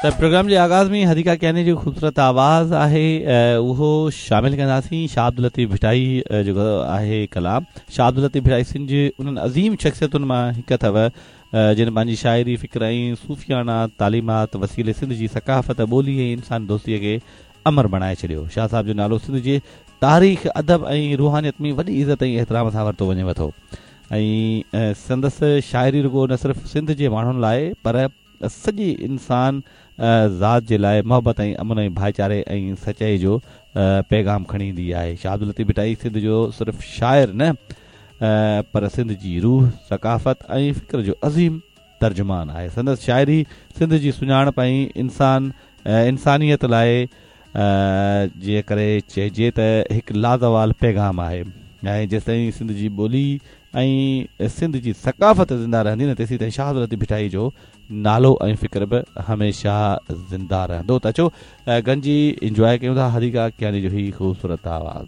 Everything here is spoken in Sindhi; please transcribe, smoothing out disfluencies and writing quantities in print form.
ته پروگرام جي آغاز ۾ حديقه ڪياني جو خوبصورت آواز آهي اهو شامل ڪنداسين. شاهه عبداللطيف ڀٽائي جيڪو آهي ڪلام شاهه عبداللطيف ڀٽائي سنڌ جي انهن عظيم شخصيتن مان هڪ اٿو جن پنهنجي شاعري، فڪر ۽ صوفياڻا تعليمات وسيلي سنڌ جي ثقافت، ٻولي ۽ انسان دوستيء کي امر بڻائي ڇڏيو. شاهه صاحب جو نالو سنڌ جي تاريخ، ادب ۽ روحانيت ۾ وڏي عزت ۽ احترام سان ورتو وڃي ٿو ۽ سندس شاعري رڳو نه صرف سنڌ جي ماڻهن لاء پر سڄي انسان ذات جي لاء محبت ۽ امن ۽ ڀائيچاري ۽ سچائي جو پيغام کڻي ايندي آهي. شاهه عبداللطيف ڀٽائي سنڌ جو صرف شاعر نه پر سنڌ جي روح، ثقافت ۽ فڪر جو عظيم ترجمان آهي. سندس شاعري سنڌ جي سڃاڻپ ۽ انسان انسانيت لاء جي ڪري چئجي ته هڪ لازوال پيغام آهي ۽ جيستائين سنڌ جي ٻولي ۽ سنڌ جي ثقافت زنده رهندي نه تيسيتائين شاهه عبداللطيف ڀٽائي جو نالو ۽ فڪر به هميشه زنده رهندو ته اچو گڏجي انجواء ڪيون ٿا حديقه ڪياني جو هي خوبصورت آواز.